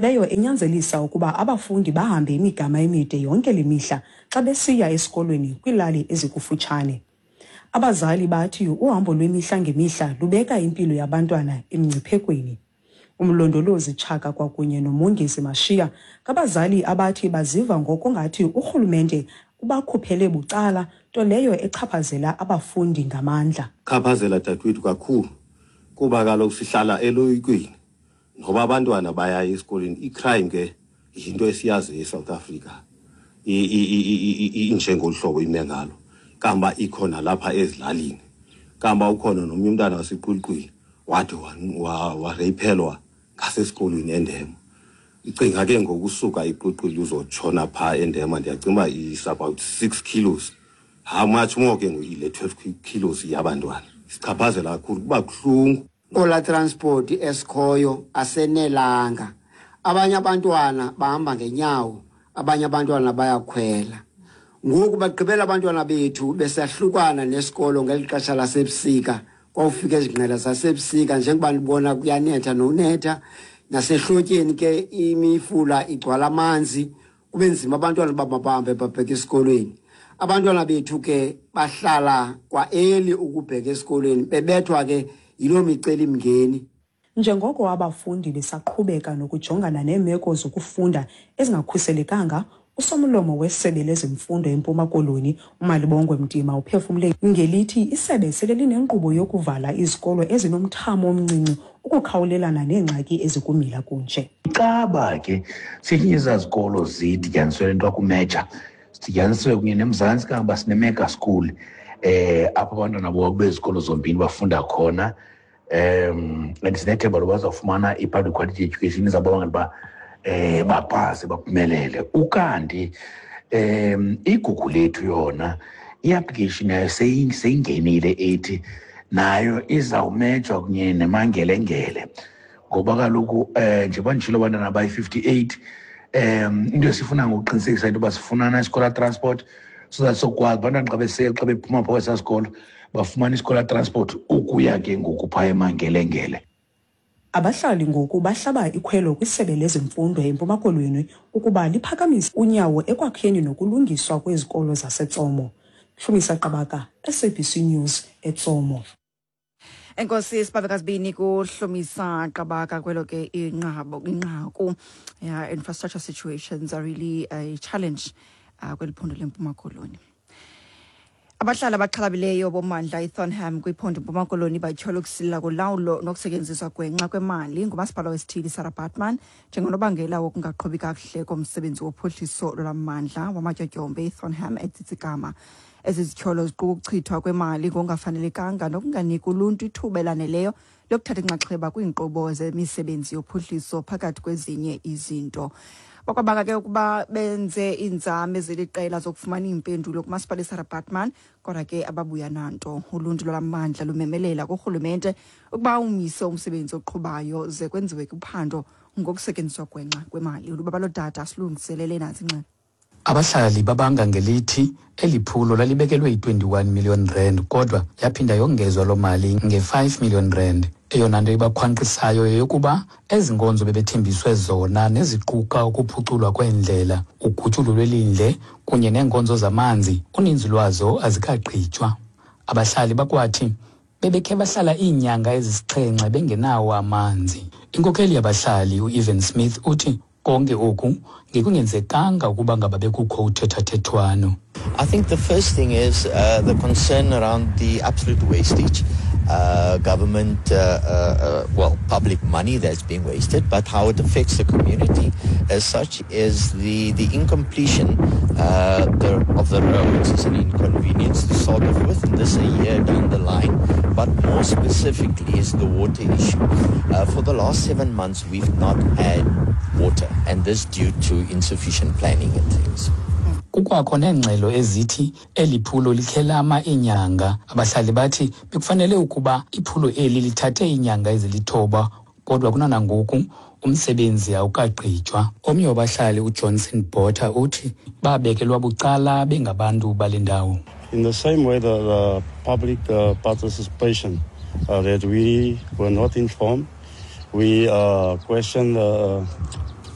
Leyo enyanzelisa ukuba abafundi bahambe imigama emide yonke le mihla xa besiya esikolweni kwiilali ezikufutshane. Abazali bathi uhambo lwemihla ngemihla lubeka impilo yabantwana emngciphekweni. UMlondolozi Tshaka kwakunye noMongezi Mashiya ngabazali abathi baziva ngokungathi urhulumente ubakhuphele bucala, nto leyo echaphazela abafundi ngamandla. Chaphazela dadewethu kakhulu kuba kaloku sihlala eloyikweni noba abantwana bayaya esikolweni. I-crime ke yinto esiyaziyo eSouth Africa, injengolu hlobo ime ngalo, kamba ikhona lapha ezilalini, kamba ukhona nomnye umntana waseQulqwini wade wareyiphelwa ngasesikolweni eNdema. Icinga ke ngokusuka iQulqwini uzotshona phaa eNdema, ndiyacinga uba is about 6 kilos. How much more ke ngoku ile 12 kilos yabantwana? Sichaphazela kakhulu, kuba buhlungu. Ola transport esikhoyo asenelanga. Abanye abantwana bahamba ngenyawo, abanye abantwana bayakhwela. Ngoku bagqibela abantwana bethu besahlukana nesikolo ngeli xesha lasebusika. Kwawufika ezingqela zasebusika, njengoba ndibona kuyanetha nonetha, nasehlotyeni ke imifula igcwala amanzi, kube nzima abantwana uba mabahambe babheke esikolweni. Abantwana bethu ke bahlala kwaeli ukubheka esikolweni, bebethwa ke yiloo micelimngeni. Njengoko abafundi besaqhubeka nokujongana neemeko zokufunda ezingakhuselekanga, usomlomo wesebe lezemfundo eMpuma Koloni, uMalibongwe Mtima, uphefumle ngelithi isebe sele linenkqubo yokuvala izikolo ezinomthamo omncinci ukukhawulelana neengxaki ezikumila kunje. Caba ke sesinye ezazikolo zidityaniswe le nto akumeja, sidityaniswe kunye neMzantsi, kangoba sinemega school apho abantwana bezikolo zombini bafunda khona. And sinethemba loba bazawufumana i-public quality education izawubabangela uba bapase baphumelele. Ukanti igugu lethu yona i-application yayo seyingenile, ethi nayo izawumejwa kunye nemangelengele, ngoba kaloku njengoba nditshilo abantwana bayi-58. Into esifuna ngokuqinisekisa into yoba sifunana isikolo transport so that sokwazi abantwana xa bephuma phaa kwesaa sikolo bafumana isikolo transport ukuya ke ngoku phaa emangelengele. Abahlali ngoku bahlaba ikhwelo kwisebe lezemfundo eMpuma Koloni ukuba liphakamise unyawo ekwakheni nokulungiswa kwezikolo zaseTsomo. Hlumisa Qabaka, SABC News, eTsomo. Enkosi sibabekazibini kuHlumisa Qabaka kwelo ke inqabo inqaku. Yeah, infrastructure situations are really a challenge kweli phondo leMpuma Koloni. Abahlali abaxhalabileyo bommandla iThornham kwiphondo Mpuma Koloni batyhola ukusilela kolawulo nokusetyenziswa gwenxa kwemali ngumasipala wesithili Sarah Baartman njengonobangela wokungaqhubi kakuhle komsebenzi wophuhliso lwalammandla wamatyotyombe iThornham eTsitsikama. Ezi zityholo ziquka ukuchithwa kwemali ngokungafanelekanga nokunganiki uluntu ithuba elaneleyo lokuthatha inxaxheba kwiinkqubo zemisebenzi yophuhliso, phakathi kwezinye izinto. Bakwabanga ke ukuba benze iinzame zeliqela zokufumana iimpendulo kumasipala iSarah Baartman, kodwa ke ababuya nanto. Uluntu lwalamandla lumemelela kurhulumente ukuba umise umsebenzi oqhubayo ze kwenziwe uphando ngokusetyenziswa gwenxa kwemali. Ulubabalo Dada silungiselele nantsi ingxelo. Abahlali babanga ngelithi eli phulo lalibekelwe i-21 million rand, kodwa yaphinda yongezwa loo mali nge-5 million rand. Eyona nto ibakhwankqisayo yeyokuba ezi nkonzo bebethembiswe zona, neziquka ukuphuculwa kweendlela, ugutyulo lwelindle kunye neenkonzo zamanzi, uninzi lwazo azikagqitywa. Abahlali bakwathi bebekhe bahlala iinyanga ezisixhenxe bengenawo amanzi. Inkokheli yabahlali uEvan Smith uthi konke oku ngekungenzekanga ukuba ngaba bekukho uthethathethwano. I think the first thing is the concern around the absolute wastage. Government, well, public money that's being wasted, but how it affects the community as such is the incompletion of the roads is an inconvenience to start off with, and this a year down the line, but more specifically is the water issue. For the last 7 months, we've not had water, and this due to insufficient planning and things. Kukwakho neengxelo ezithi eli phulo likhelama iinyanga. Abahlali bathi bekufanele ukuba iphulo eli lithathe iinyanga ezilithoba, kodwa kunanangoku umsebenzi awukagqitywa. Omnye wabahlali uJohnson Botha uthi babekelwa bucala bengabantu bale ndawo. In the same way, the public participation that we were not informed, we questioned the